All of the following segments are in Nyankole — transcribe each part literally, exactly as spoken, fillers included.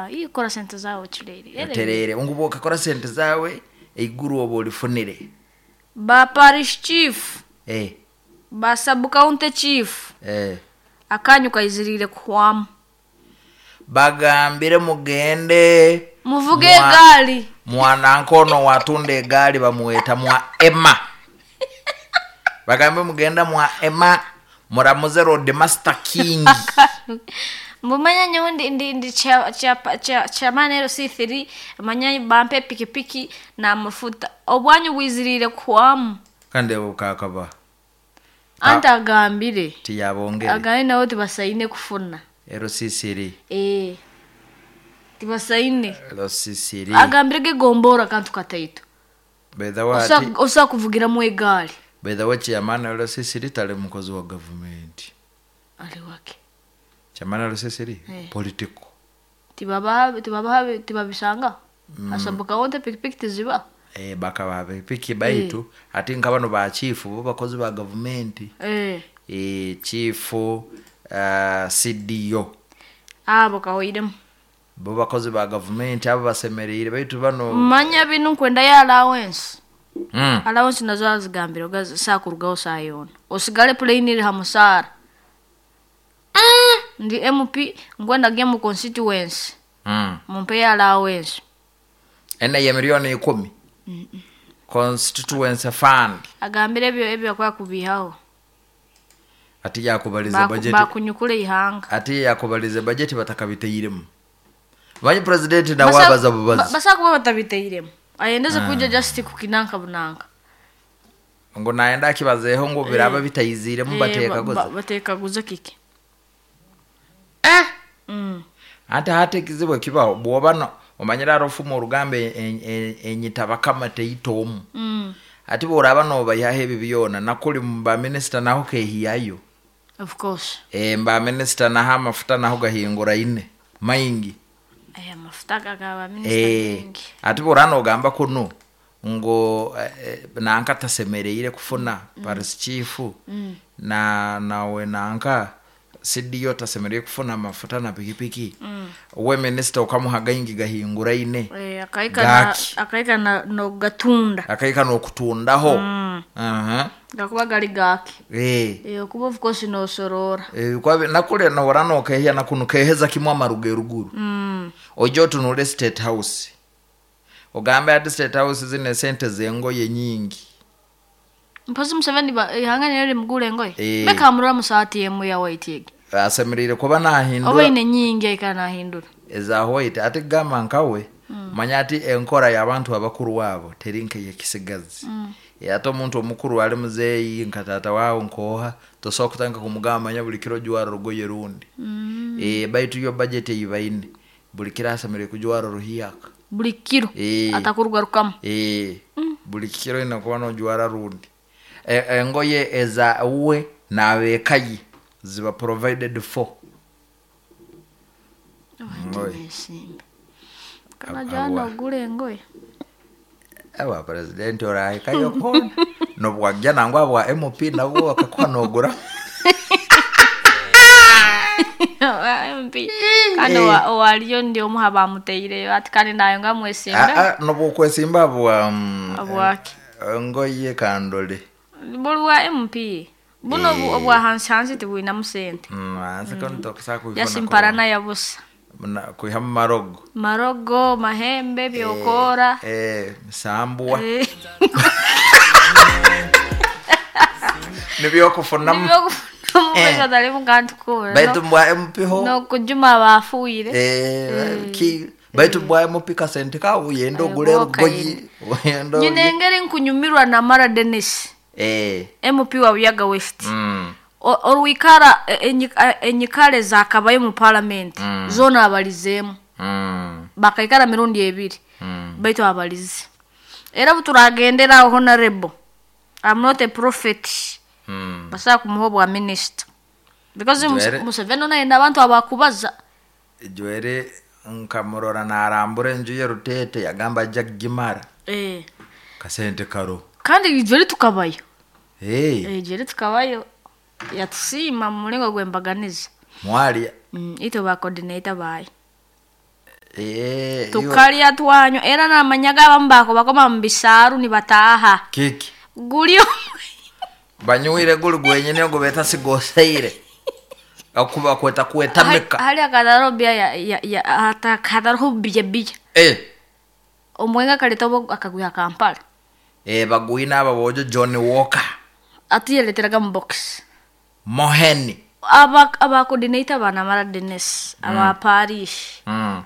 Ah, iyo kora sente zawe ocureire. Otereere ngu bwokakora sente zawe eiguru oba orifunire. Ba parish chief, Eh, ba sub county chief, eh. akanyu kaiziriire kuhwamu. Bagambire mugende Muvuge Mwa- egaali. mwanankono watunda egaali bamuweta mwa Emma. Bagambe mugenda mwa Emma muramuze road master king. Mbumanya nyowe ndi ndi ndi cha cha cha chairman L C three manya bampe pikipiki na mafuta obwanyu bwizirire kuhwamu. Kandi bukakaba Anti agambire tiyabongere agambire nabo tibasaine kufuna. L C three. Eh. Tibasaine. L C three. Agambire gegombora kantu kataito. By the way, Osa ati osa kuvugiramu egaali. by the way chairman L C three tali mukozi wa government. Ali wake. Chairman L C three Eh. political. Tibabaha tibabaha tibabisanga. Mm. Asabuka wonte pikipiki tiziba. Eh, bakaba pikipiki baitu ati nka bano ba chief bo bakozi ba government. Eh. Eh, chief uh, C D O. Abo kawaidemu. Bo bakozi ba government abo basemereire baitu bano Manya binu nkwenda ya allowance. Mm. Allowance nazo azigambira ogazi sakurugaho sayona. Osigale plane iri ha musara. Mm. Ndi M P ngwenda gye mu constituency. Mm. Mumpe ya allowance. Ena ya milioni ikumi. Mm -mm. Constituency fund. Agambire ebyo ebyo akwa kubihaho. Ati yakubaliza Baku, budget. Bakunyukule ihanga. Ati yakubaliza budget batakabiteiremu. Manyi president na wabaza bubazi. Basa kuba batabiteiremu. Ayendeze kuja just kukinanka bunanka. Ngo naenda akibazeho ngo biraba bitayiziremu bateka goza. Bateka goza kiki. Eh. Mm. Ate hate kizibu kibaho bwoba no omanyira arofumu orugambe enyitaba kama teitomu. Mm. Ati boraba no bayahe ebi byona nakuli mba minister naho kehiyayo. Of course. Eh, mba minister naho amafuta naho gahingura ine maingi. Aya mafuta gagaba minister Eh, mingi. ati borano ogamba kuno ngo eh, nanka tasemereire kufuna mm. Paris chief mm. na nawe nanka C D O tasemereire kufuna mafuta na pikipiki mm. We minister ukamuha gaingi gahingura ine. Eh, akaika na akaika na no gatunda. Akaika no kutundaho. Mm. Aha. Gakuba gali gaki. Eh. Eh, kuba of course no sorora. Eh, kwa nakule na warano kehia na kunu keheza kimwa maruge ruguru. Mm. Ojo tunule state house. Ogambe ati state house zine sente zengoye nyingi. Mpozi Museveni ba ihanga nere mugule ngoye. Eh. Beka amurura musati yemu ya white yegi. Asemerire kuba nahindura. Oba ine nyingi aikana nahindura. Eza white ati gamba nkawe. Mm. Manya ati enkora y'abantu abakuru wabo terinke yekisigazi. Mm. E, ate omuntu omukuru ali muzeeyi nka tata wawe nkoha tosobola kutandika kumugamba manya buli kiro jwara rugoye rundi. Mm. E, baitu yo budget eyibaine buli kiro asemerire kujwara ruhiyaka. Buli kiro e, atakurugarukamu. E, mm. Buli kiro ina kuba nojwara rundi. E, engoye eza uwe n'abeekayi ziba provided for. Oh, kana jana ogule engoye. Awa president orahikayo kona nobwajja nangwa bwa M P nabwo bakakuha nogura. M P kandi owaliyo ndi omuha bamuteireyo ati kandi nayo nga mwesimba. Ah, ah, nobwokwesimba bwa bwake engoye kandole buli bwa M P buno Eh. obwa hansi hansi tibwinamu sente. Mm, hansi kono tokusa kuifuna Yasimparana yabusa kuiha mu marogo marogo mahembe byokora eh, eh sambwa eh. nibyokufunamu nibyokufunamu Eh. pesa talimu kantu kona baitu mbwa M P ho no kujuma bafuire eh, ki baitu mbwa M P kasente kawu yenda ogule rugoyi yenda nyine engeri nkunyumirwa na Mara Dennis eh M P wa Buyaga West mm. Orwikara enyikale zakabayo mu parliament mm. zona abalizemu mm. bakaikara mirundi ebiri mm. baitu abalize era buturagendera honorable I'm not a prophet mm. basa kumuha bwa minister because Jwere. Museveni naye abantu abakubaza Jwere nkamurora narambura enju ye Rutete yagamba ajja kugimara eh kasente karo kandi jwere tukabayo hey. eh jwere tukabayo yatusima mu mulingo gwembaganiza mwali mm, ito ba coordinator bayi Eh, iwe- Tukalya twanywa era namanyaga abamu bako bakoma mu bisaaru nibataaha. Kiki Guli banywire guli gwenyine ogwo beta sigoseire akuba kweta kwetamika. Hali akataro bia ya ya ya hata kataro bia bia. Eh. Omwenga kaleta obo akagwiha Kampala. Eh, bagwina aba bojo Johnny Walker. Atuyeleteraga mu box. Moheni. Aba aba coordinator bana mara Dennis aba parish. Mm.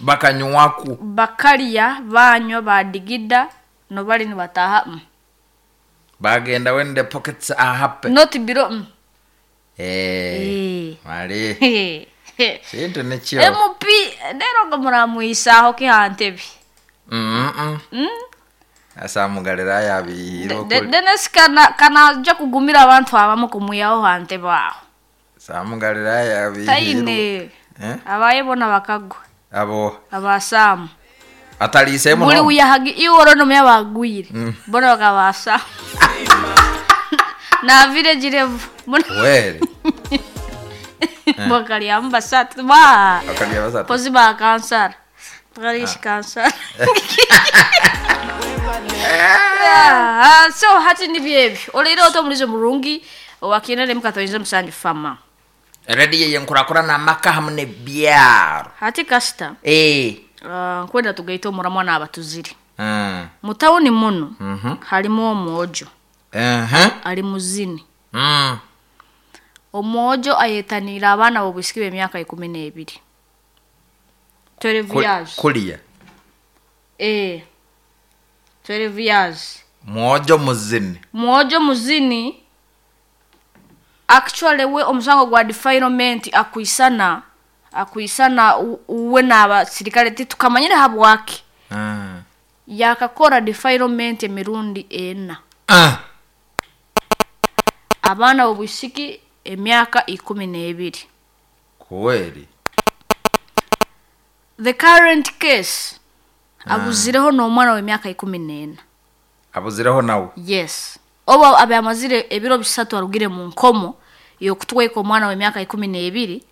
Bakanywaku. Bakalya banywa badigida no bali nibataha. Mm. Bagenda when the pockets are happy. Not biro. Mm. Eh. Eh. Mali. Sintu nikyo. M P rero ngo muramwisaho kihantebi. Mm -mm. Mm. Asa mugalira yabihiro. Dennis kana kanaja kugumira abantu abamu kumuyaho hante baho. Samugalira yabihiro. Taine. Eh? Abaye bona bakagwa. Abo. Abasamu. Atalise muno. Buli uyahagi iworo no myabagwire. Mm. Bona bakabasa. Na village level. Wele. Bakali ambasat ba. Bakali ambasat. Pozi ba cancer. Bakali cancer. Ah, so hati ni byebi. Olero to mulizo murungi wakinene mukatoinze musanju fama. Ready yenkurakura na maka hamne byaro. Hati kasta. Eh. Uh, nkwenda tugaita omuramwa n'abatuziri. Mm. Mu tawuni muno mm -hmm. halimu omwojo. Uh -huh. Ali muzini. Mm. Omwojo ayetanira abaana b'obwisiki b'emyaka ikumi n'ebiri. twelve years. Kuliya. Eh. twelve years. Mwojo muzini. Mwojo muzini. Actually we omusango gwa defilement akuisana akuisana uwe n'abasirikale titukamanyire habwaki. Mm. Yakakora defilement emirundi ena. Ah. Abaana b'obwisiki emyaka ikumi n'ebiri. Kweli. The current case abuzireho n'omwana w'emyaka ikumi n'ena. Abuzireho nawe? Yes. Oba abe amazire ebiro bisatu arugire mu nkomo yokutweka omwana w'emyaka ikumi n'ebiri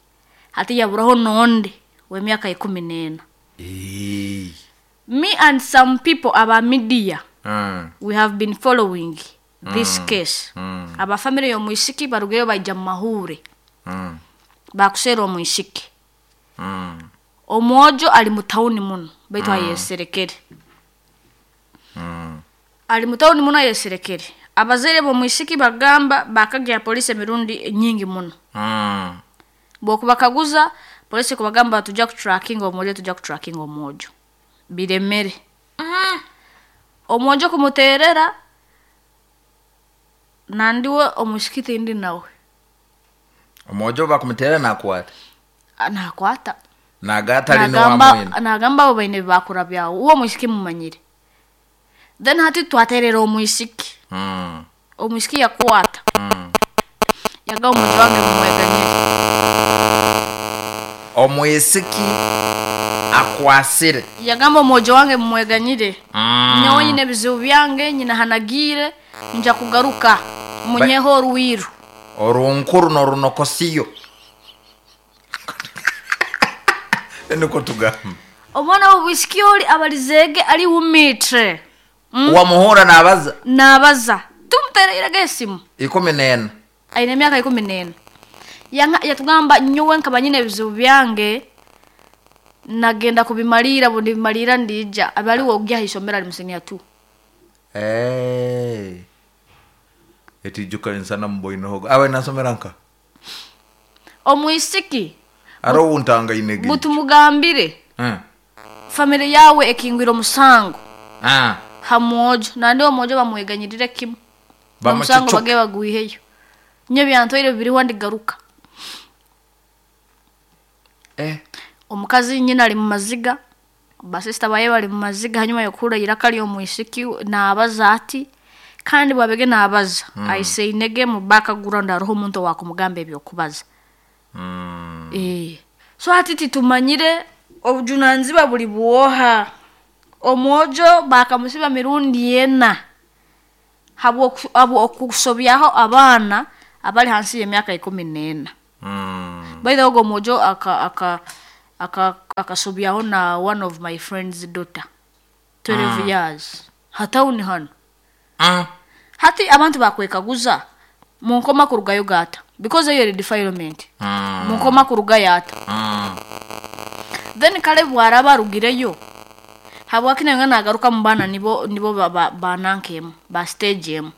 hati yaburaho nonde w'emyaka ikumi n'ena. Eh. Me and some people aba media mm. we have been following this mm. case. Mm. Aba family y'omwisiki barugeyo baija mu mahure. Mm. Bakusera omwisiki. Mm. Omwojo ali mu tawuni muno baitu mm. ayeserekere. Mm. Ali mu tawuni muno ayeserekere. Abazaire b'omwisiki bagamba bakagya polisi emirundi nyingi muno. Mm. Bwokubakaguza polisi kubagamba tujja kutracking omwojo tujja kutracking omwojo. Biremere. Mm. Omwojo kumuterera nandiwe omwisiki tindi nawe. Omwojo bakumuterera nakwata. Nakwata. Nagata lino wamwene. Nagamba abo baine bakura byawo. Uwo mwisiki mumanyire. Then hati twaterera omwisiki. Mm. Omwisiki yakwata. Mm. Yaga omwojo wange mumweganyire. Omwisiki akwasire. Yagamba omwojo wange mumweganyire. Mm. Nyowe nyine ebizibu byange nyina hanagire nja kugaruka munyeho oruwiru. Orunkuru n'orunokosiyo. Niko tugamba. Omwana w'obwisiki oli abalizege ali wumitre. Mm. Wamuhura nabaza. Nabaza. Tumutereraga esimu. Ikumi n'ena. Aine emyaka ikumi n'ena. Yanga yatugamba nyowe nkaba nyine ebizibu byange nagenda kubimalira bundi bimalira ndija abali wogya isomera ali musenia tu. Eh. Etijuka insana mboino hogo. Awe nasomera nka. Omwisiki aro untanga inege. Mutumugambire. Mm. Family yawe ekingwira omusango. Ah. Hamwojo nandi omwojo bamweganyirire kimu. Bamusango bage bagwiheyo. Nyo byantoire biri wandigaruka. Eh. Omukazi nyina ali mu maziga. Basista baye bali mu maziga hanyuma yokura irakali omwisiki nabaza ati kandi bwabege nabaza mm. aise inege mu background aroho omuntu wakumugamba ebyokubaza. Mm. Eh. So hati titumanyire obujunanziba buli bwoha. Omwojo bakamusiba mirundi ena habwo habwo okusobyaho abaana abali hansi y'emyaka ikumi n'ena. Mm. By the way omwojo aka aka aka Akasobyaho na one of my friend's daughter twelve mm. years hatawuni hano. Mm. Hati abantu bakwekaguza munkoma kurugayo gata because eyo defilement. Mm. Munkoma kurugayo ata. Mm. Then kale bwaraba arugireyo habwaki nayo nagaruka mu bana nibo nibo banankemu ba, ba stage emu.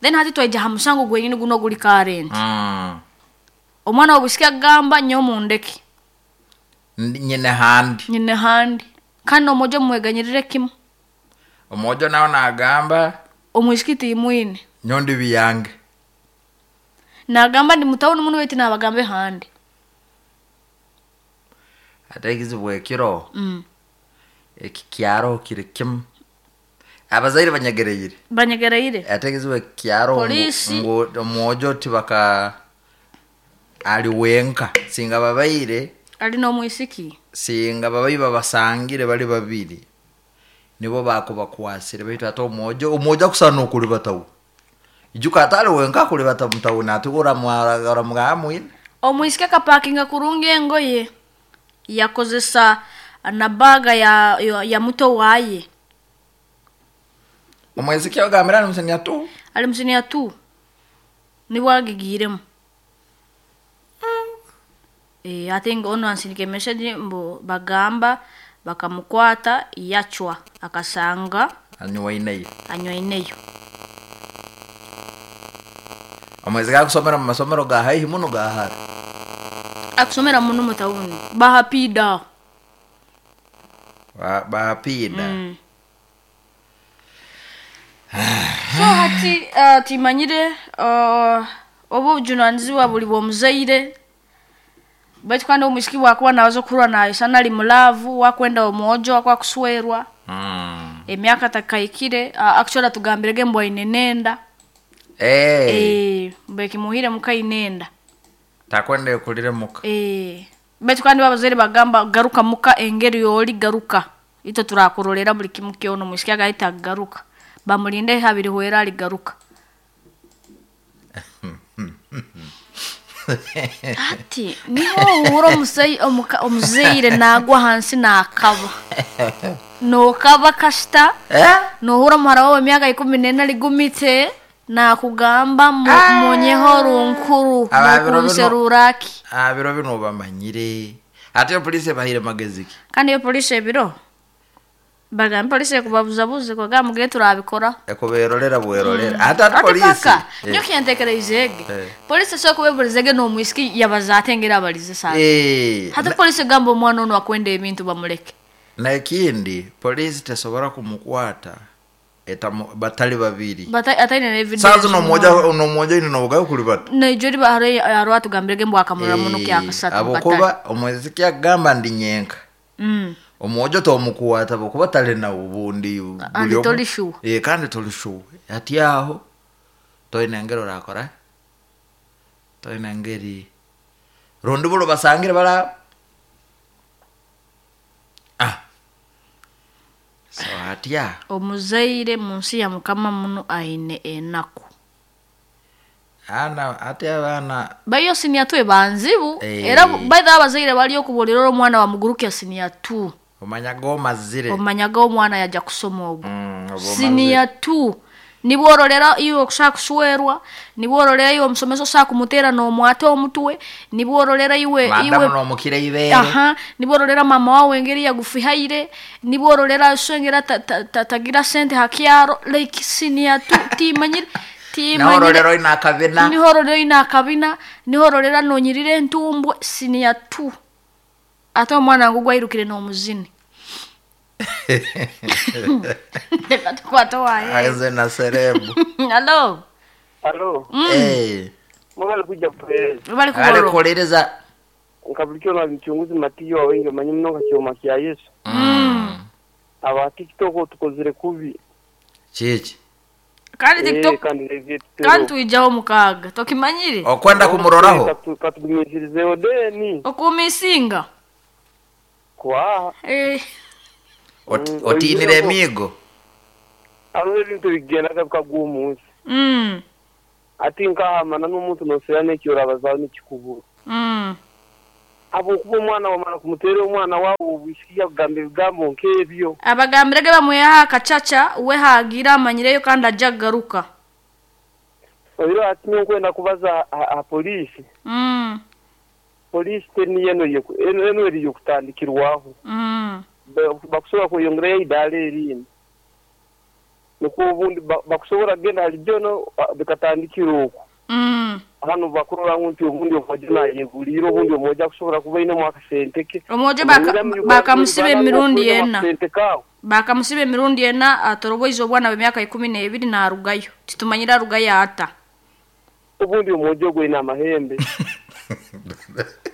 Then hati twaija ha musango gwenyini guno guli current. Mm. Omwana wobusika gamba nyo mundeke nyine handi nyine handi kandi omojo mweganyirire kimu omojo nawo nagamba omwisikiti imwine nyondi biyange nagamba ndi mutawuni muno weti nabagambe handi ate ekizibu ekiro mm. eki kyaro kiri kimu abazaire banyegereire banyegereire ate ekizibu eki kyaro Polisi. ngu omwojo tibaka ali wenka singa babaire ali n'omwisiki singa babayi babasangire bali babiri nibo bakubakwasire baitu ate omwojo omwojo akusana okulibatawu ijuka ate ali wenka akulibata mutawuni ate oramugamba mwine omwisiki akapakinga kurungi engoye yakozesa na baga ya, ya, ya muto waye omwisiki ogambira ali musenia tu ali musiniya tu nibwo agigiremu. Eh, I think ono ansindika message mbu bagamba bakamukwata yachwa akasanga anywaineyo anywaineyo. Omwezi gakusomera mu masomero ga haihi muno ga hara akusomera muno mutawuni bahapida Ba- bahapida mm. So hati uh, timanyire uh, obu obujunanizibwa buli bw'omuzaire baitu kandi omwisiki bwakuba nabaza okuhurwa nayesana ali mulavu wakwenda omwojo wakuba kuswerwa Mm. emyaka takaikire uh, actually atugambirege mbu aine nenda. Eh, Eh, mbu ekimuhire muka inenda takwenda ekulire muka Eh, baitu kandi abazaire bagamba garuka muka engeri yoli garuka itwe turakurolera buli kimu kyona omwisiki agahita agaruka bamulinde habiri hwera aligaruka. Ati niho ohura omusai- omuka- omuzaire nagwa hansi nakaba nokaba kasita Eh? nohura omuhara wawe emyaka ikumi nena ligumite nakugamba mu- munyeho runkuru Aba biro bino- nokunseruraki Ah, biro bino bamanyire ate polisi ebahire magezi ki kandi iyo polisi ebiro bagamba polisi ekubabuzabuze kwagamba mugire turabikora ekuberorera bwerorera ate ate ati polisi paka Eh. nyo kyentekereizege Eh. polisi esobola kubeburizege n'omwisiki yabaza ate engeri abalize sana Eh, hati polisi egamba omwana ono akwenda ebintu bamuleke nekindi polisi tesobora kumukwata etamu batali babiri Bata- ataine na evidence saa zino omoja omoja ine nobugayo kuli bata naijo riba hariho hariho atugambirege mbu akamurora muno Eh, kyakasatu abokuba omweziki agamba ndi nyenka mm. omwojo tomukwata bokuba tali nawo bundi Andi buli omu- toli sure. Eh, kandi toli sure ati aho toine ngeri orakora toine ngeri rundi bulo basangire bara ah so atya omuzaire mu nsi ya mukama muno aine enaku ana ate abaana baiyo siniya tu ebanzibu Eh. era baitha abazaire bali okubuulira ori omwana wamugurukya siniya tu omanya gomazire omanyaga omwana yajja kusoma ogwo Mm, oba omazire. siniya tu nibworolera iwe okushaka kuswerwa nibworolera iwe omusomesa oshaka kumuteera n'omwata omutwe nibworolera iwe madamu iwe nomukira ibere aha nibworolera mama wawe engeri yagufihaire nibworolera so engeri ta- ta- ta- tagira sente hakyaro like siniya tu timanyire timanyire nahorolera oine akabina nihorolera oine akabina nihorolera nonyirira entumbwe siniya tu ate omwana wange gwairukire n'omuzini reka tukwate waye aze na serebu alo Alo, Eh, mwebale kuja kupereza. bali kuborwa alikuuliriza Nkabulikyo na mchunguzi matiyo wawengi manyi muno nka kyoma kya Yesu. Mm. Aba TikTok tukozire kubi. kiki kandi Eh, tiktok kandi nevye kandi tuijaho mukaaga tokimanyire okwenda kumuroraho Katugumisirizeho deni. okumisinga Kwa Eh, Ot- Mm, otiinire oyireho. emiigo hariho ebintu bigendaga bikaguha omunsi. mm, Ati nkahamana n'omuntu nosera n'ekyorabazaho n'ekikubura. mm, Abokuba omwana wamara kumuteera omwana wawe obwisiki yakugamba ebigambo nk'ebyo. Abagambirege bamweha akacaca we hagira amanyireyo kandi ajja kugaruka. Oiro ati nkwenda kubaza aha polisi. Mm. Polisi teniyo eno eno eri yokutandikirwaho. Mm. Bakusobola kweyongerayo idaara erindi. Nukwo obundi bakusobola kugenda hali jono bikatandikira okwo. Mm. Hano bakurora nti obundi omwojo nayeguliire obundi omwojo akusobola kuba ainemu akasente ke. Omwojo bakamusiba emirundi ena. Bakamusiba emirundi ena atoroboize obwana bw'emyaka ikumi n'ebiri n'arugayo. Titumanyire arugayo ata. Obundi omwojo gwine amahembe.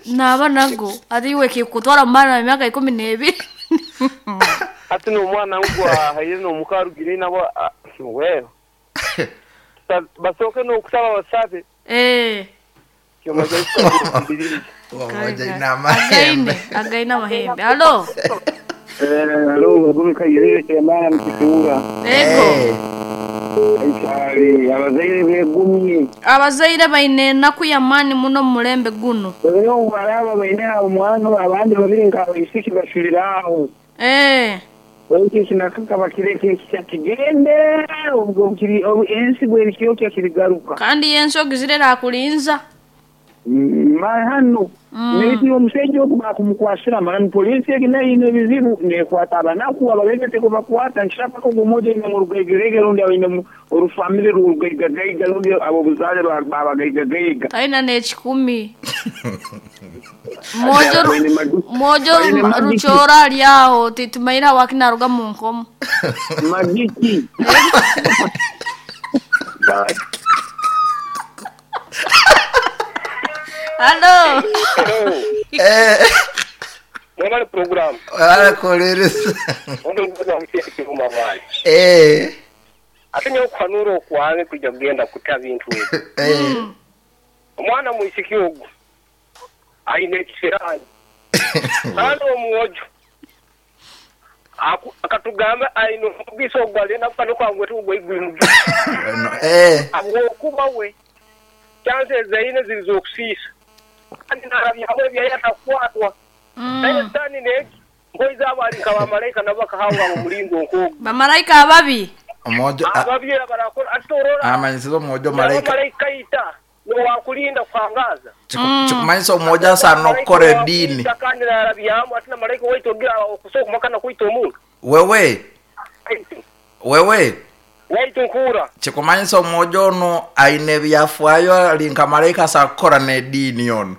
Naba nago ariwe kikutwara mwana w'emyaka ikumi n'ebiri. Ati n'omwana ngwa haire n'omukarugire nabo wewe. Basooke n'okusaba basabe. Eh. Againe, againe amahembe. Halo. Eh, halo, gumika yirire cyemana mkifunga. Ego. Aichari, abazaire begumye. Abazaire baine enaku y'amaani muno mu mulembe guno. Rero baraba baine omwana abandi babiri nka isiki bashiriraho. Eh. Wenki kinakaka bakireke kigende ubwo kiri ensi bwe kiyo kirigaruka. Kandi yenso gizirera akulinza. Ma hano neti omusajja okuba kumukwasira mara polisi egina ine bizibu nekwata abanaku ababegete kubakwata nshaka ko gumoje ine mu rugaigerege rundi abine orufamily rugaigerege rundi abo buzale babagaigerege taina ne kikumi mojo mojo ruchora lyaho titumaira wakinaruga mu nkomo magiki. Hello. Eh. Mwebale program. Wala kolereza. Ondo ngoza mutye mabali. Eh. Ate nyo kwanura okwange kujja kugenda kuta bintu ebyo. Eh. Omwana mwisiki ogwo aine ekisirani. Kandi omwojo akatugamba aine omugisa ogwo alina kano kwangwe tugwe igwimu. Eh. Abwokuba we chances zaine zirizokusisa. Kandi narabya byayatakwatwa. Naye tani neki ngoiza abali nka bamalaika nabo bakahanga mu mulingo nkogo. Bamalaika ababi. Omojo ababi barakora atorora. Amanyisizo omojo malaika. Malaika ita no wakulinda kuhangaza. Chikumanyisa omojo asana okukora edini. Kandi narabyamu ati na malaika waitogira okusoka makana kuita omuntu. Wewe. Wewe. Waitunkura. Chikumanyisa omojo ono aine byafaayo ali nka malaika asakukora n'edini ono.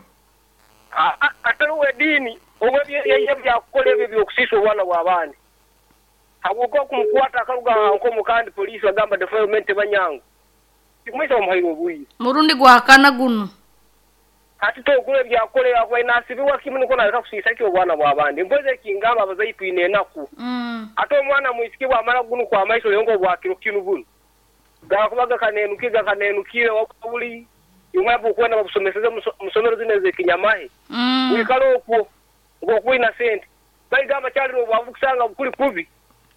Atari edini obwe byakukola ebyo byokusisa obwana bw'abandi. Habwokuba kumukwata akaruga nkomu kandi polisi bagamba defilement banyangu. Chikumanyisa omuhaire obwire. Murundi gwakana guno. Ati tokule byakukola akuba inasibiwa kimu niko naleka kusisa ki obwana bw'abandi. Mpoze ekingamba abazayi twine enaku. Mm. Ate omwana mwisiki bwamara guno kwa maiso yongo bwakiro kinu buno. Gakubaga kanenukiga kanenukire wabuli imwabu kwenda babusomeseze musomero zineze kinyamahe. Mm. Wikalo okwo ngokuina sente. Baigamba kyali obwavu kusanga bukuli kubi.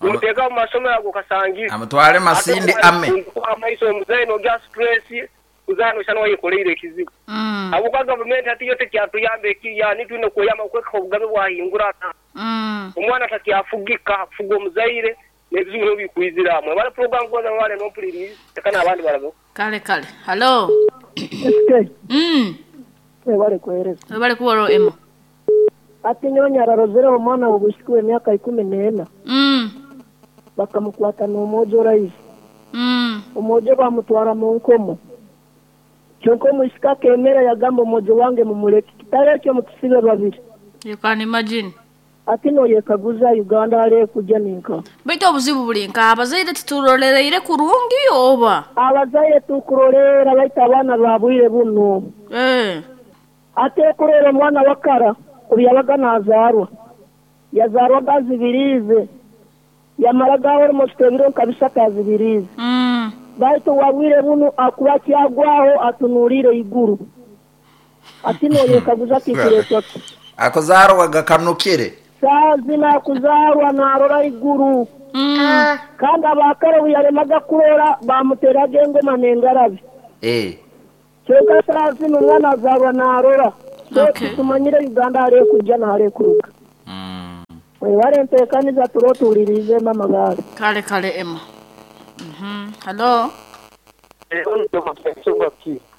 Muteka mu masomero ago kasangira. Amutwale masindi ame. Amaiso omuzayi no gas stress uzano shano wayikolere ekizibu. Mm. Abuka government ati yote kyatuyambe ekiyani twine kuyamba okweka obugabe bwahingura ata. Mm. Omwana takyafugika afuga omuzaire n'ebizibu bikuiziramu. Abala program goza wale no please tekana abandi barago. Kale kale. Hello. S K. Mm. Webale kuhereza. Webale kuworo emo. Ati nyonya ararozere omwana obusiki emyaka ikumi n'ena. Mm. Bakamukwata n'omwojo rais. Mm. Omwojo bamutwara mu nkomo. Kyonka omusika kemera yagamba omwojo wange mumuleke. Kitale ekyo mutusibe babiri. You can imagine. Ati no yekaguza Uganda ale kujja ninka. Baitu obuzibu buli nka abazaire titurolereire kurungi oba? Abazaire tukurolera baita abaana babwire buno. Eh. Ate kurera omwana wakara obyabaga nazaarwa. Yazarwa gazibirize. Yamara almost ebiro kabisa kazibirize. Mm. Baitu wabwire buno akuba kyagwaho atunulire iguru. Ati no yekaguza kikiretwa. Akuzarwa gakanukire. Sazina kuzarwa narora iguru. Mm. Kandi abakare buyaremaga kurora bamuteraga engoma n'engarabi. Eh. Kyonka sazina omwana azarwa narora. So Okay. tumanyire Uganda hariyo kujja na hariyo kuruga. Mm. Webale nteekaniza turo tuwulirize mama gaali. Kale kale Emma. Mhm. Hello.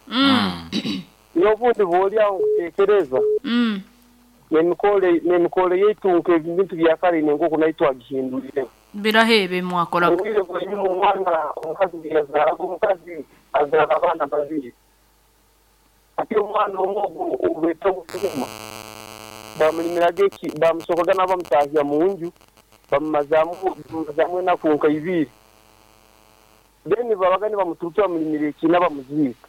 Mm. N'obundi bw'oli aho nkuteekereza Mm. n'emikore n'emikore yaitu nk'ebintu bya kare nenkoku nayo twagihindurire. Birahebe mwakoraga. Obwire bwenyuma omwana omukazi bwe yazaaraga omukazi azaara abaana babiri. Ati omwana omwe ogu ogubeeta ogusuma bamulimiraga eki bamusokaga nabo bamutahya mu nju bamumazaamu bamumazaamu enaku nka ibiri. Then babaga nibamuturuka bamulimira ekiina bamuziika.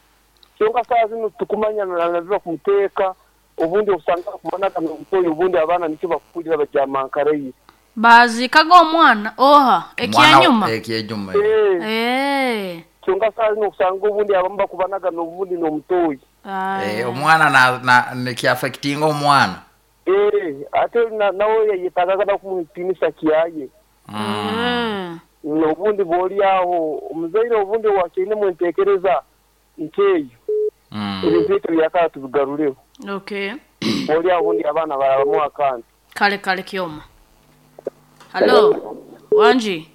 Kyonka saaha zinu tukumanya nabiba kumuteeka obundi osanga kubonaga n'obutoyi obundi abaana nikyo bakukurira bagyamankaraire. Baazikaga omwana oha ekyanyuma. Ekyenyuma. Eh. Eh. Kyonka saaha zinu okusanga obundi abamu bakubanaga n'obundi n'omutoyi. Eh, omwana na na nikiaffectinga omwana. Eh, ate na- nawe yayetagaga nakumuhitimisa kiyaye. Mm. N'obundi bw'oli aho omuzaire obundi wakiine mwenteekereza nkeeyo. Mm. Ebintu byaitu byakara tubigarureho. Okay. Bw'oli aho obundi abaana barabamu akantu. Kale kale Kyoma. Hello. Wanji.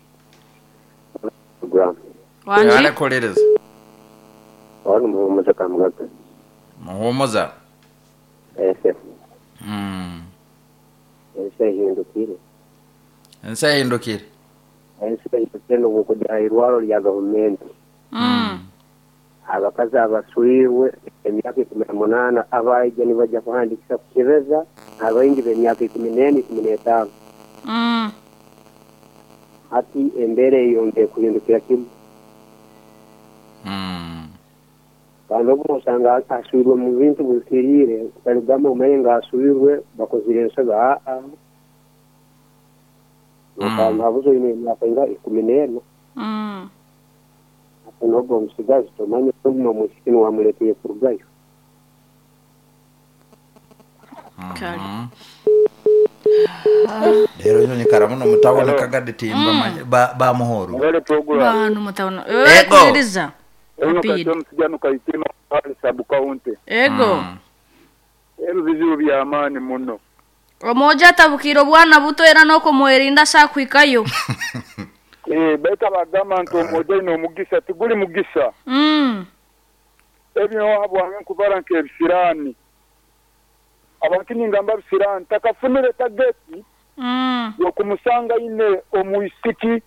Wale Wanji. kuwuliriza. Wano muhumuza kamugaga. Muhumuza. Ese Mm. ensi ehindukire. Ensi ehindukire. Ensi ehindukire n'obukujja irwaro lya gavumenti. Mm. Abakazi abaswirwe emyaka ikumi na munaana abaija nibajja kuhandikisa kukebeza abaingi b'emyaka ikumi n'ena ikumi n'etaano. Mm. Hati embeera eyongeye kuhindukira kimu. Mm. Kandi obu osanga aswirwe mu bintu bihikiriire kutarigamba omanye nga aswirwe bakozire ensobi aa. Nokamba habuze oine emyaka nga ikumi n'ena. Mm. Ate n'ogwo omusigazi tomanya oguma omwisiki niwamuleeteye kurugayo. Kale. Rero ino nyikara muno mutaboneka gaditimba mm. ba, ba muhoro. Ngale program. Banu mutabona. Eh, Ego. kuwuliriza. Eno Rapid. kati omusijano kaitima pale sub county. Ego. Mm. Ebyo bizibu bya maani muno. Omoja atabukira obwana buto era n'okumwerinda sakwikayo. Eh, baita bagamba nti omoja ino omugisa tiguli mugisa. Mm. Ebyo habwange nkubara nk'ebisiraani. Abantu ningamba bisiraani takafunire tageti Mm. yokumusanga ine omwisiki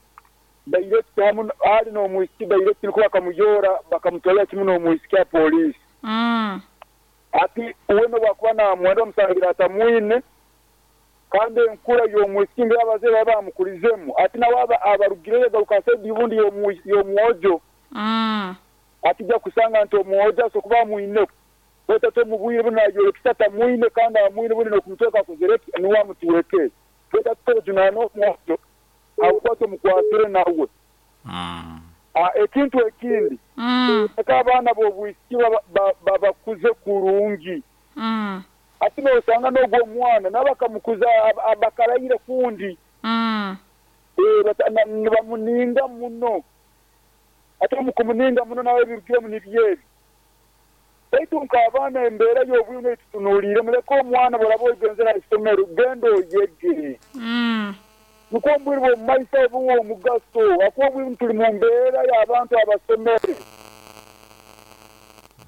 direct hamu ali n'omwisiki direct niko bakamuyora bakamutwalira kimu n'omwisiki ya polisi. Mm. Ati uweno bwakuba namwenda omusangira atamwine kandi enkura y'omwisiki ng'abazeire baba bamukurizemu ati nawe aba- abarugireyo garuka saidi obundi y'omu- y'omwojo. Mm. Ati ja kusanga nti omwojo asobola kuba amwine bwete tomubwire buno ayorekisa atamwine kandi amwine buno n'okumutweka akozere ki niwe amutuweke bwete tutojunaana omwojo abukwate omukwasire nawe. Mm. Ah, ekintu ekindi Mm. eka abaana b'obwisiki baba- ba- babakuze kurungi. Mm. Ati nosanga n'ogwo omwana nabo bakamukuza ab- abakaraire kundi. Mm. Eh, bata- na- nibamuninga muno. Ate mukumuninga muno nawe ebirugiremu nibyo ebi. Baitu nk'abaana embeera y'obwire etutunuulire muleke omwana bw'oraba oigenzera aha isomero genda oyege. Mm. Nikwo obwire bw'omu maiso obuwa omugaso akuba obwire tuli mu mbeera y'abantu abasomere.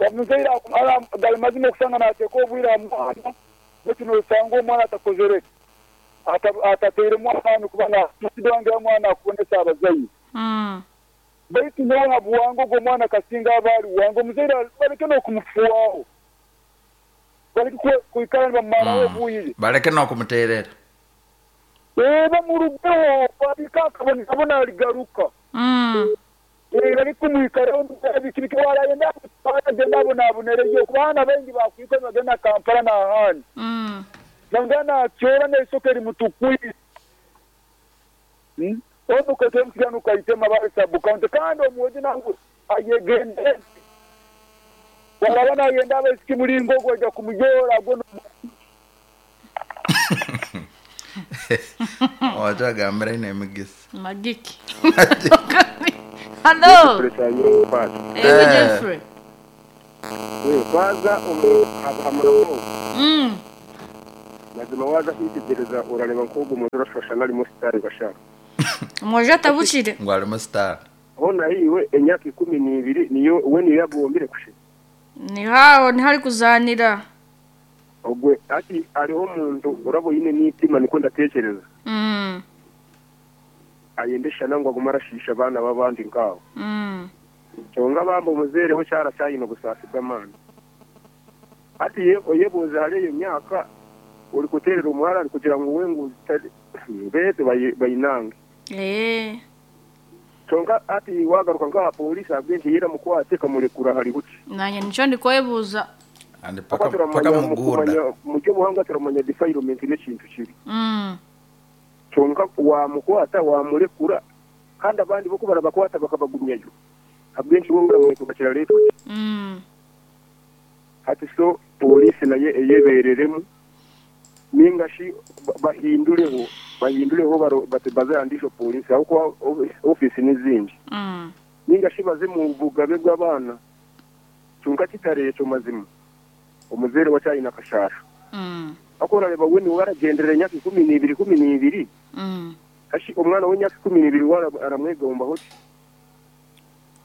Omuzaire aku- ara- gali mazima okusanga naateeka obwire aha mwana baitu nosanga omwana atakozere ata- atateiremu amaani kuba nasida wange omwana akubonesa abazaire. Mm. Baitu nyowe habuwanga ogwo omwana kasinga aba ali wange omuzaire baleke n'okumufuwaho baleke kwe- kwikara nibamumaraho Mm. obwire. Baleke n'okumuteerera. Eh, bamurugeho babika akabona aligaruka. Mm. Eh, bali kumwikaraho biki warayenda agenda abonabonereyo kuba abaana baingi bakwika nibagenda Kampala n'ahandi. Mm. Nanga nakyora n'eisoko erimutukwire. Hmm? Ono kati omusigano kaitema bali sub county kandi omwojo nawe ayegendere. Waraba nayenda abaisiki mulingo ogwo ajja kumuyora agwo no- Wachagambira ine emigisa. Magiki. Hello. Ego Eh. Jeffrey. Kwanza omu- hamuramo Mm. Mazima waza kwitegereza urareba nk'ogu omuntu urashwashana arimo sitari bashaka. Omwojo atabukire. Ngu arimo sitari. Hona iwe emyaka ikumi n'ibiri niyo we niyo yagombire kushira. Nihaho niho ari kuzanira. Ogwe ati ariho omuntu urabo yine n'itima niko ndatekereza. Mm. Ayendesha nangwa aguma arashisha abana b'abandi nkabo. Mm. Kyonka bamba omuzeereho kyarakyayine obusaasi bw'amaani. Ati ye oyebuuza hariyo eyo myaka ori kuteerera omuhara ari kugira ngu we ngu beete bayinange. Eh. Kyonka ati wagaruka nk'aha polisi ahabw'enki yeramukwate ekamurekura hari buki. Nanye nico ndikwebuuza. Andi paka paka muguda. Mu by'obuhangwa turamanya defilement n'ekintu kibi. Mm. Kyonka wamukwata wamurekura kandi abandi bo barabakwata bakabagumyayo. Ahabw'enki bo baramurekura kiraretwa. Mm. Hati so polisi naye eyebereremu ninga shi bahindureho bahindureho bazandisho polisi aho kwa office n'izindi. Mm. Ninga shi baze mu bugabe bw'abana kyonka kitareeto mazima omuzere wa cyayina kashasha. Mm. Akora reba we ni waragenderera emyaka ikumi n'ibiri ikumi n'ibiri. Mm. Ashi omwana w'emyaka ikumi n'ibiri aramwegombaho ki?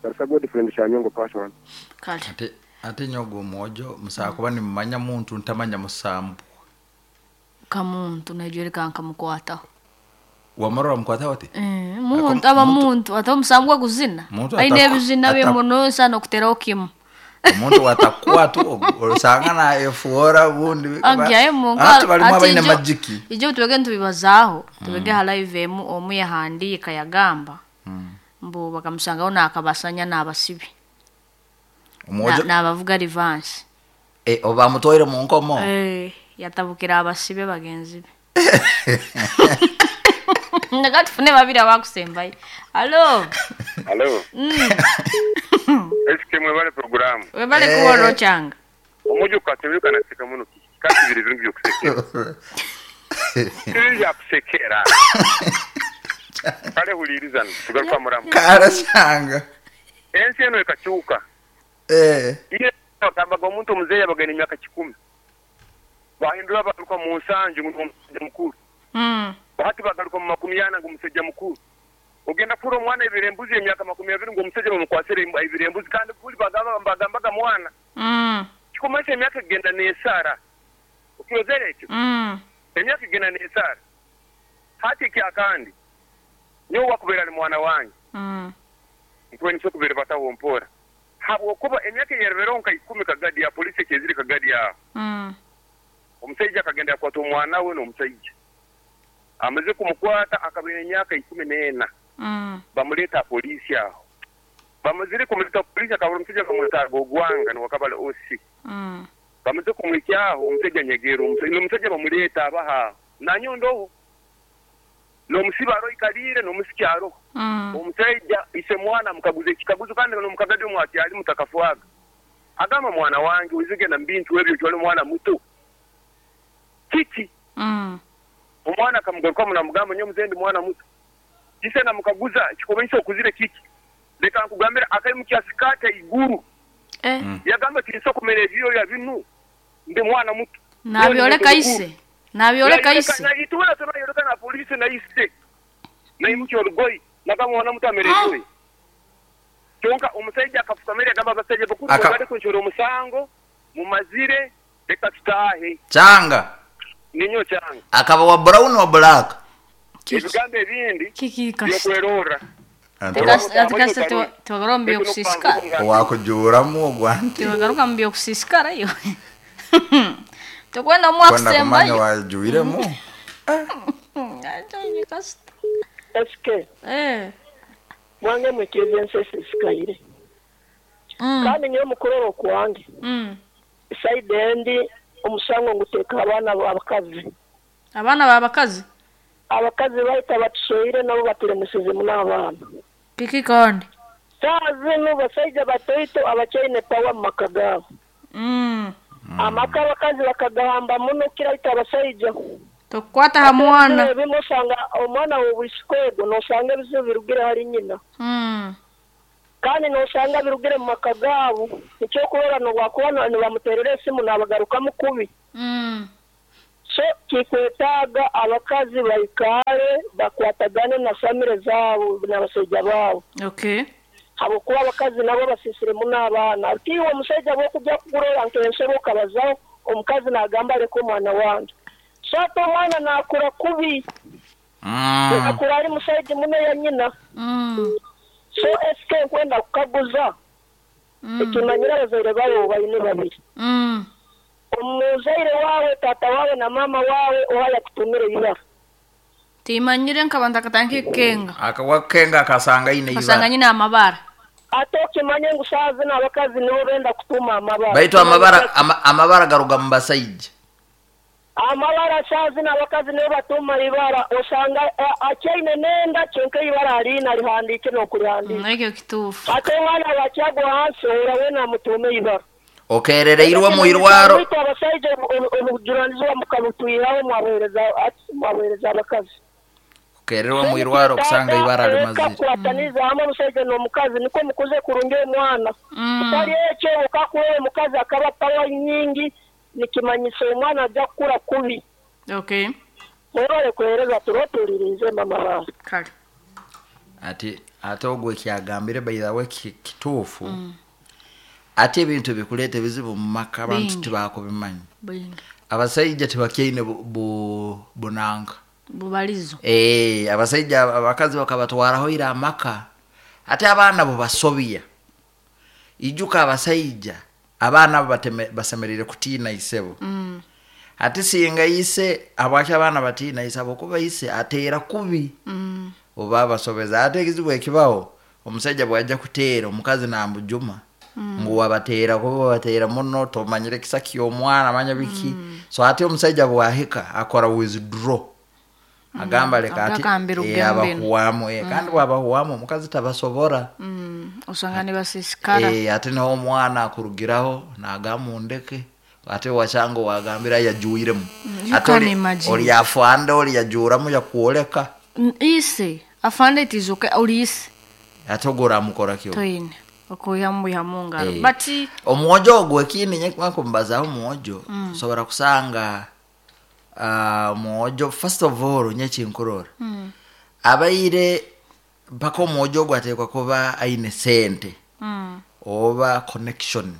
Darasa God friend cyanyongo passion. Kale. Ate ate nyogo omwojo musakuba nimumanya muntu ntamanya musambu. Kamuntu najwereka nkamukwataho. Wamara wamukwataho ati? Eh, muntu aba muntu ate omusambu gw'okuzina. Aine ebizina bye muno sana okuteraho kimu. Omuntu watakwata osanga na efuora bundi ati balimu abaine majiki. Ijo tubege ntubibazaaho tubege ha live emu omu yahandiika yagamba mbu bakamusangaho nakabasanya n'abasibi. N'abavuga revanche. Eh, obamutwaire mu nkomo. Eh, yatabukira abasibe bagenzi be. Ndaga tufune babiri abakusembayo. Hello. Hello. Mm. Eske mwebale programu. Webale kuworo changa. Omujo katebuka naseka muno ki. Kandi biri bintu byokusekera. Biri byakusekera. Kale hulirizana tugaruka muramu. Kara changa. Ensi eno ekakyuka. Eh. Iye bagambaga omuntu omuzeeyi abagenda emyaka kikumi. Bahindura bagaruka mu nsanju ngu omusajja mukuru. Mm. Bahati bagaruka mu makumi ana ngu omusajja mukuru. Ogenda kura omwana ebiri embuzi emyaka makumi abiri ngu omusajja bamukwasire ebiri embuzi kandi buli bagamba bagambaga mwana. Mm. Kikumanyisa emyaka egenda n'esaara. Okirozere ekyo? Mm. Emyaka egenda n'esaara. Hati ekyakandi nyowe wakubeera ali mwana wange. Mm. Nkuba niso kubeera bataho mpora. Habwokuba emyaka eyerebereho nka ikumi kagadi ya polisi ekyeziri kagadi aho. Mm. Omusajja akagenda yakwata omwana we n'omusajja. Amaze kumukwata akabeera emyaka ikumi n'ena. Mm. Bamuleeta polisi aho. Bamazire kumuleeta polisi akabura omusajja bamwetaaga ogwanga niwakabala O C. Mm. Bamaze kumwikyaho omusajja nyegera omusajja omusajja bamuleeta abaha. Nanyondoho. N'omusiba aro ikalire n'omusiki aroho. Mm. Omusajja ise mwana mukaguze ekikaguzo kandi n'omukagadi omwati ali mutakafuaga. Agamba mwana wange wizigenda mbintu ebyo kyoli mwana muto. Kiki? Mm. Omwana akamugaruka munamugamba nyo muzendi mwana muto. Ise namukaguza kikomanyisa okuzire kiki? Leka nkugambira akaimukia sikata iguru. Eh. Mm. Yagamba tinso kumera ebyo ya binu. Ndi mwana muto. Nabyoleka ise. Nabyoleka ise. Na itwala tunayoleka na polisi na ise. Na imuki olugoyi nagamba mwana muto amere ebyo. Kyonka omusajja akafukamira agamba abasajja bakuru bali kunshora omusango mumazire leka tutahe. Changa. Ninyo changa. Akaba wa brown wa black. Ebigambo ebindi kiki byokwerora. Atikasta twagaruka mu byokusisikara. Wakujuramu ogwanti. Twagaruka mu byokusisikara yo. Tukwenda mwakusembayo. Wajuiremu. Eske. Eh. Mwange mwekeze ensesi sikaire. Mm. Kandi nyo mukororo kwange. Mm. Side endi omusango nguteka abaana abakazi. Abaana b'abakazi? Abakazi bahita batusoire nabo batiremesize n'abaana. Kiki kandi? Saa zinu basajja batoito abakyaine pawa mu maka gaabo. Mm. Amaka abakazi bakagahamba muno kiraita abasajja. Tokukwata ha mwana. Ebimu osanga omwana w'obwisiko ego nosanga ebizibu birugire hari nyina. Mm. Kandi nosanga birugire mu maka gaabo ekyokurora nobwakuba nibamuterera esimu nabagarukamu kubi. Mm. So kikwetaaga abakazi baikare bakwatagane na famire zaabo n'abasajja baabo. Okay. Habwokuba abakazi nabo basisiremu n'abaana. Tiiwe omusajja bw'okujja kugurora nk'ensebe okabazaho omukazi n'agamba aleka omwana wange. So ate omwana naakura kubi. Mm. Akura ari musajja muno ya nyina. Mm. So esike nkwenda kukaguza. Mm. Ekimanyira abazaire baabo baine babiri. Mm. Omuzaire wawe tata wawe na mama wawe oha yakutumire ibara. Timanyire nkaba ntakatandika kukenga. Akawakenga akasanga ine Kasanga ibara. nyina amabara. Ate okimanye ngu saazi n'abakazi nibo benda kutuma amabara. Baitu amabara ama, amabara garuga mu basaija. Amabara saazi n'abakazi nibo batuma ibara osanga akyaine nenda kyonka ibara alina lihandiike n'okulihandiika. Mm, ekyo kituufu. Ate omwana wakyagwa hansi ora we namutume ibara. Okerereirwe mu irwaro. Baitu abasaija obujunaanizibwa mukabutwiraho mwabuheereza mwabuheereza abakazi. Okererwa mu irwaro kusanga ibara limazire. Kukwataniza hamwe omusajja n'omukazi niko mukuze kurungi omwana. Mm. Kitali ekyo okakuwa omukazi akaba pawa nyingi nikimanyiso omwana ajja kukura kubi. Okay. Mwebale kuheereza turotuulirize mama bawe. Kale. Ati ate ogwo ekyagambire by the way ki- kituufu. Mm. Ate ebintu bikuleeta ebizibu mu maka abantu Bingi. tibakubimanyi. Bingi. Abasajja tibakyaine bu, bu, bunanga. Bubalizo. Eh, abasajja abakazi bakabatwaraho ira amaka. Ate abaana bo basobya. Ijuka abasajja abaana abo bateme- basemerere kutiina isebo. Mm. Ate singa ise abwaki abaana batiina ise abokuba ise ateera kubi. Mm. Oba abasobeza ate ekizibu ekibaho omusajja bw'ajja kuteera omukazi nambujuma. Mm. Ngu wabateera kuba wabateera muno tomanyire kisa ky'omwana manya biki. Mm. So ate omusajja bw'ahika akora withdraw. Agamba leka ati Agakambira eh, obugambo eno. abahuwamu eh, kandi bw'abahuwamu omukazi tabasobora. Mm. Osanga nibasisikara. Eh, ate niho omwana akurugiraho nagamba undeke ate wachanga wagambira yajuiremu. You Ate can oli- imagine. oli afande oli yajuuramu yakwoleka Mm, Ise afande it is okay oli ise ate ogwo oramukora kyo. toyine okuyihamu mu ngaro. Eh. But Omwojo ogwo ekindi nyekumbazaho omwojo nsobora kusanga ah, omwojo first of all nyekinkurora mm. abaire mpaka omwojo ogwo ateekwa kuba aine sente Mm. oba connection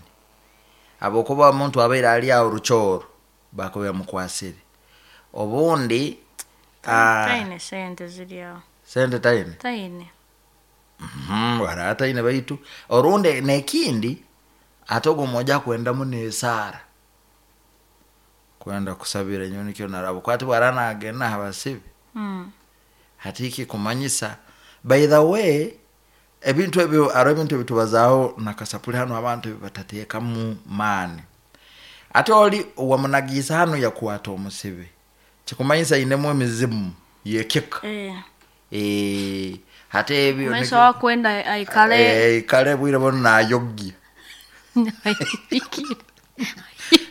abokuba omuntu abaire ali awo rukyoro bakuba bamukwasire obundi ah, Taine sente ziri awo. sente taine Taine. Mhm, wara ataine baitu orundi nekindi ate ogwo omwojo akwendamu nesaara kwenda kusabira nyowe nikyo naraba kwati bwara nagenda habasibe Mm. hati kikumanyisa by the way ebintu ebyo aro ebintu ebitubazaaho nakasapuli hano abantu batateekamu maani ate oli wamunagiisa hano yakwata omusibe kikumanyisa ainemu emizimu yekika Eh. Eh, ate ebyo Maiso wakwenda aikale Eh, kale bwire bono nayogya ayibikire.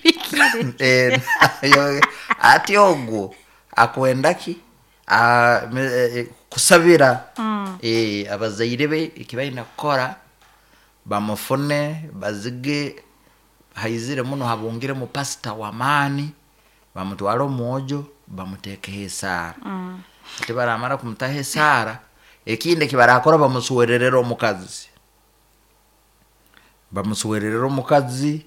Ayibikire. Eh, nayo- ate ogwo akwenda ki Ah, me- eh, eh, kusabira Mm. Eh, abazaire be ekibalina kukora bamufune bazige haizire muno habungiremu pasita wamaani bamutwale omwojo bamuteekeho esaara. Mm. Ate baramara kumutaho esaara ekindi ekibarakora bamusuwererera omukazi bamusuwererera omukazi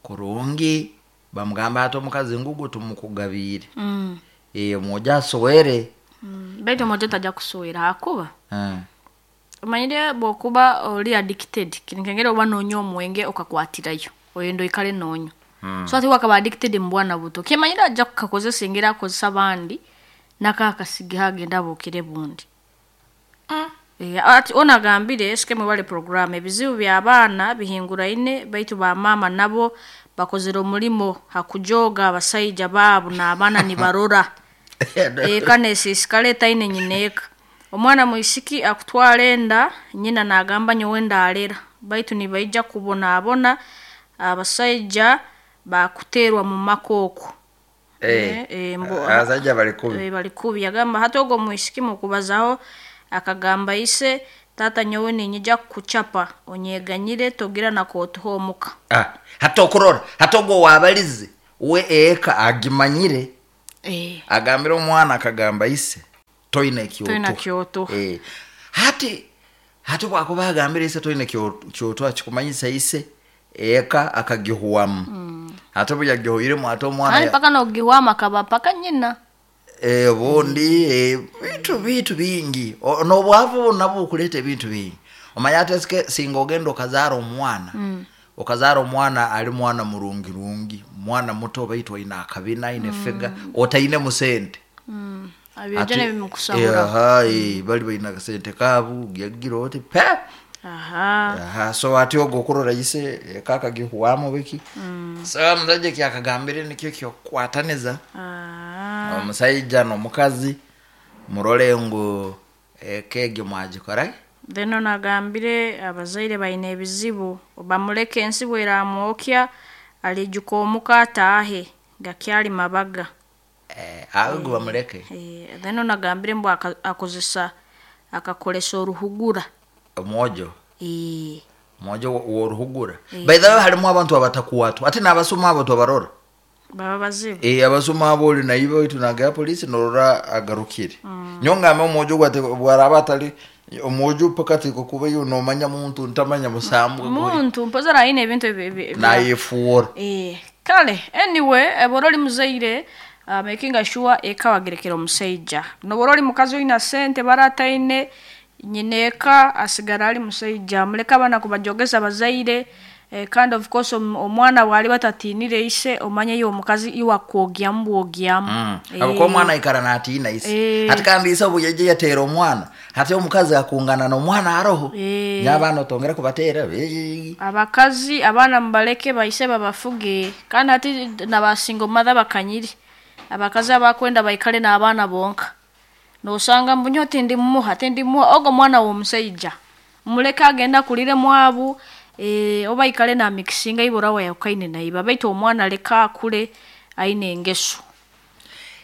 kurungi bamugamba ati omukazi ngugu tumukugabiire. Mm. Eh, omwojo asuwere. Mm. Baitu omwojo tajja kusuwera hakuba Eh. omanyire bw'okuba oli addicted kinkengera oba noonya omwenge okakwatirayo oyenda oikale noonywa. Mm. So ate wakaba addicted mu bwana buto kimanyire ajja kukakozesa engeri akozesa abandi nakakasige agenda abuukire bundi. Eh, ati ono agambire esike mwebale program ebizibu by'abaana bihinguraine baitu bamaama nabo bakozere omulimo hakujoga abasaija baabo n'abaana nibarora. Eka nesiisikara etaine nyina eka. Omwana mwisiki akutwara enda nyina nagamba nyowe ndalera baitu nibaija kubonaabona abasaija bakuteerwa mu maka okwo. Eh, Eh, eh, mbu- abasajja bali kubi. Eh, bali kubi yagamba hati ogwo mwisiki mukubazaho akagamba ise Tata nyowe ninyija kukuchapa onyeganyire togira nakotuha omuka. Ah, hata okurora hata ogwo wabalize we eka agimanyire. Eh. Agambire omwana akagamba ise toine Toine kyotuha. Eh, hati hati bwakuba agambire ise toine kyo- kyotuha kikumanyisa ise eka akagihuwamu. Mm. Hati obu yagihuiremu hati omwana Kandi ya- paka nogihwama akaba paka nyina. Eh, obundi eh, bintu bintu bingi. O- n'obwavu nabwo bukuleeta ebintu bingi. Omanya ate sike singa ogenda okazaara omwana. Mm. Okazaara omwana ali mwana murungirungi, mwana muto baitu aine akabina aine figa otaine musente. Mm. Abyojo nebimukusahura. Aha, eh, bali baine akasente kaabu gyagira oti pe. Aha. Aha, so ati ogwo okurora ise eka akagihuwamu biki. So omusajja kyakagambire nikyo kyokukwataniza. Ah. Omusaija n'omukazi murole ngu eka egyo mwagikora. Then onagambire abazaire baine ebizibu bamuleke ensi bweramwokya alijuka omuka ataahe gakyali mabaga. Eh, ago bamuleke. Eh, then onagambire mbu aka- akozesa akakolesa oruhugura. Omwojo. Eh. Omwojo woruhugura. By the way harimu abantu abatakuwatwa ate n'abasuma abo tobarora. Baba bazibu. Eh, abasuma abo oli naiba oitu nagaya polisi norora agarukire. Mm. Nyongambe omwojo gwate bwaraba atali omwojo paka tiko kuba yo nomanya muntu ntamanya musambwe gwe. Muntu mpoza aine ebintu ebi- ebi- ebi- Nayefuura. Eh, kale anyway ebora oli muzaire uh, making sure eka wagerekera omusaija nobora oli mukazi oina sente barataine nyina eka asigara ali musaija muleke abaana kubajogeza bazaire. Eh, kandi of course om- omwana bwali batatinire ise omanye yo omukazi iwakwogyamu bwogyamu. Mm. Abuko omwana aikara natiina ise. Eh. Hati kandi ise obu yaija yateera omwana hati omukazi akungana n'omwana aroho. Eh. N'abaana otongera kubateera. Eh. Abakazi abaana mubaleke baise babafuge kandi hati nabasinga mother bakanyiri abakazi abakwenda baikale n'abaana bonka nosanga mbunyo tindi mumuha tindi muha ogo mwana w'omusaija muleke agenda kulire mwabu. Eh, oba ikale na mixinga ibora wayakukaine naiba baitu omwana leka akule aine engeso.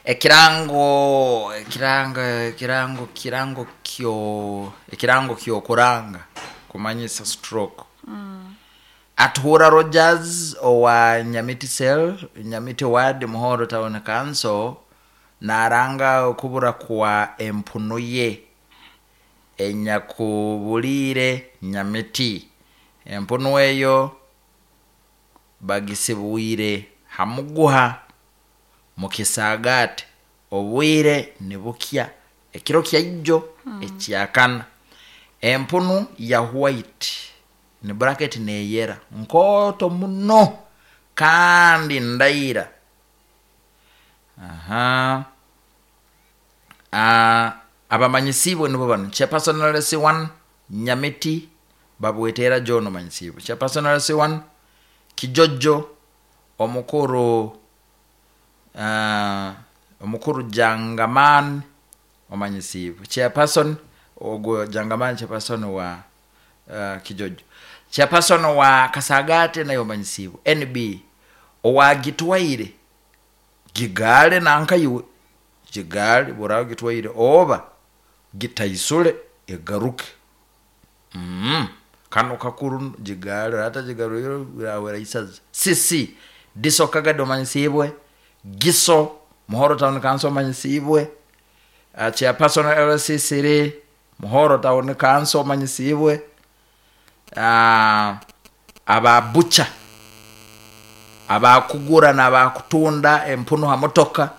Ekirango ekirango ekirango kirango kyo ekirango kyokuranga kumanyisa stroke. Mm. Atuhura Rogers owa Nyamiti cell Nyamiti ward Muhoro Town Council naranga okubura kwa empunu ye enyakubuliire Nyamiti. Empunu eyo bagisibwire hamuguha mukisagate obwire nibukya ekiro kyaijo. Mm. Ekyakana empunu ya white ni bracket neyera nkoto muno kandi ndaira. Aha. Ah, abamanyisibwe nibo bano chairperson L C one Nyamiti babwetera John omanyisibwe chairperson L C one Kijojo omukuru uh, omukuru Jangaman omanyisibwe chairperson ogwo Jangaman chairperson wa uh, Kijojo chairperson wa Kasagate nayo omanyisibwe N B owa Gitwaire gigale nankayiwe gigale burawo Gitwaire oba gitaisule egaruke. Mm. Kano kakuru gigale rata gigarwiro birawera isaza C C diso kagado manyisibwe giso Muhoro Town Council manyisibwe uh, chairperson L C C Muhoro Town Council manyisibwe uh, ababucha abakugura n'abakutunda empunu ha motoka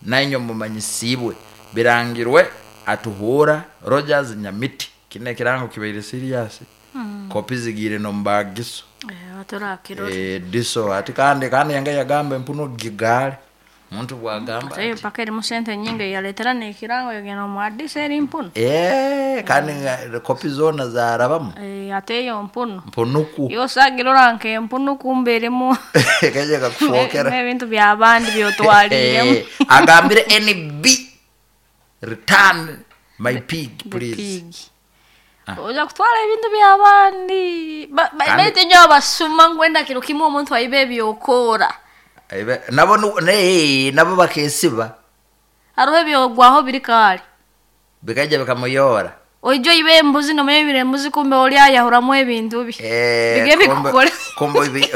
nanyo mumanyisibwe birangirwe atuhura Rogers Nyamiti kine kirango kibaire serious. Mm. Kopi zigire no mbagiso Eh, atorakiro. Eh, diso ati kandi kandi yanga yagamba empunu gigale muntu bwagamba. Ate paka eri musente nyingi yaletera nekirango yogenda omu eri mpunu. Eh, kandi mm. Kopi zona zarabamu. Eh, ate yo mpunu. Mpunuku. Yosagira oranke empunu kumbe erimu. Kaje kakufokera. Ebintu by'abandi byotwaliremu. Eh, agambire N B return my pig please. Pig. Ah. Oja kutwala ebintu by'abandi. Baitu nyo abasuma ngwenda kiro kimwe omuntu aibe ebyokora. Aibe nabo ne nabo bakesiba. Hariho ebyogwaho biri kali. Bikaja bikamuyora. Oija oiba embuzi nomanya oibire embuzi kumbe oli ayahuramu ebintu bye. Eh, Bige kumbe- bikukore. kumbe oibi-